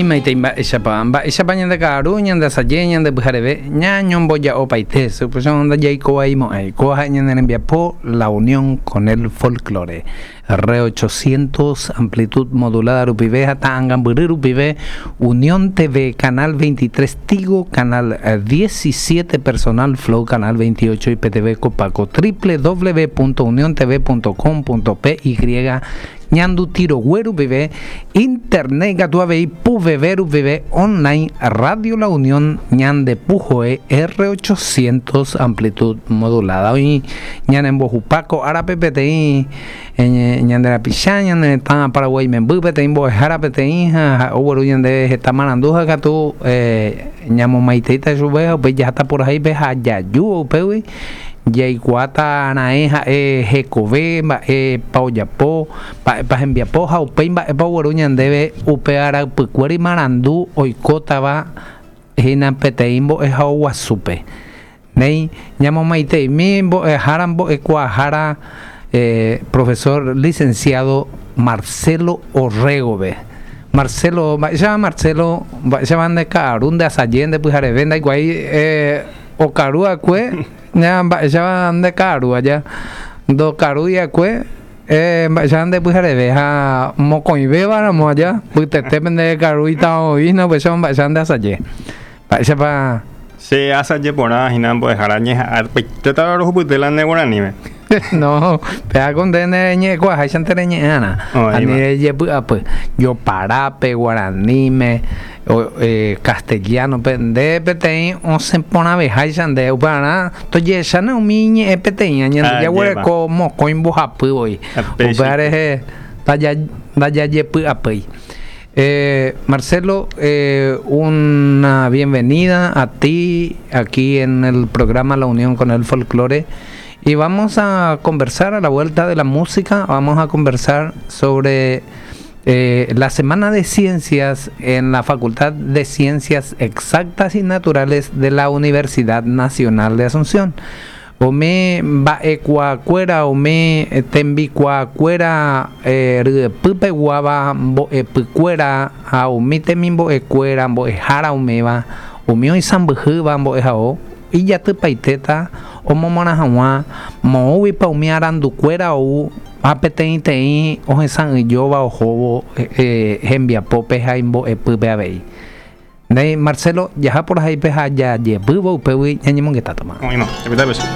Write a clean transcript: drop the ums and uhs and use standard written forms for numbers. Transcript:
Néi mba'éichapa, mba'éichapa ñande ka'aru, ñande asaje, ñande pyhareve, ñañomboja'opaite, upéicharõ ndajaikovaimo'ãi. Kóva ha'e ñane rembiapo La Unión con el Folklore. R 800 amplitud modulada rupive ha ta'angambyry rupive, Unión TV, Canal 23 Tigo, Canal 17 Personal Flow, Canal 28 IPTV Copaco, www.uniontv.com.py Ñanduti rogue rupive, internet ikatu avei puveve rupive, online, Radio La Unión ñande puhoe R 800 amplitud modulada. Oĩ ñanembohupa ko árape peteĩ ñande rapicha, ñane retã Paraguái memby, peteĩ mbo'ehára peteĩ ha ha'e ogueru ñandéve heta marandu ha katu ñamomaiteíta chupe ha upéi jaháta purahéipe ha jaju upégui Jaikuaáta raẽ ha'e hekove, mba'épa ojapo, mba'épa hembiapo ha upéi mba'épa ogueru ñandéve upe araypykuéri marandu oikótava hína peteĩ mbo'ehao guasúpe. Néi, ñamomaiteimi mbo'ehára mbo'ekuaahára profesor licenciado Marcelo Orrego-pe. Marcelo, mba'éichapa Marcelo, mba'éichapa nde ka'aru, nde asaje, nde pyhareve, ndaikuaái Okaru akue ña mba'éichapa nde ka'aru aja, ndokarúi akue mba'éichapa nde pyhareve ha mokõivéva ramo aja mbytetépe nde karúita oĩna upéicha mba'éichapa nde asaje. Mba'éichapa. Che asaje porã hína mbo'ehára ñeha'ãpaitéta rohupyty la ne guaraníme. No, péva ko nde nereñe'ẽkuaaháichante reñe'ẽ'arã. Ani rejepy'apy. Joparápe, guaraníme. Castellano-pe, nde peteĩ osẽ porãveháicha nde, upearã tojehecháne umi ñe'ẽ peteĩva, ñande jaguereko mokõi mbohapy voi, upéva rehe ndajajepy'apýi. Marcelo, una bienvenida a ti aquí en el programa La Unión con el Folklore y vamos a conversar a la vuelta de la música, vamos a conversar sobre Eh, la Semana de Ciencias en la Facultad de Ciencias Exactas y Naturales de la Universidad Nacional de Asunción. Umi mba'ekuaakuéra, umi tembikuaakuéra eh, ryepypeguáva, mbo'epykuéra ha umi temimbo'ekuéra, mbo'ehára umíva, umi oisãmbyhýva mbo'ehao, ijatypaitéta omomorã hag̃ua moõguipa umi arandukuéra ou Ha peteĩteĩ ohesa'ỹijóva ohóvo hembiapópe ha imbo'epýpe avei. Néi, Marcelo, jaha porahaipe ha jajepývo upégui ñañemongetátama. Oĩma, japyta péicha.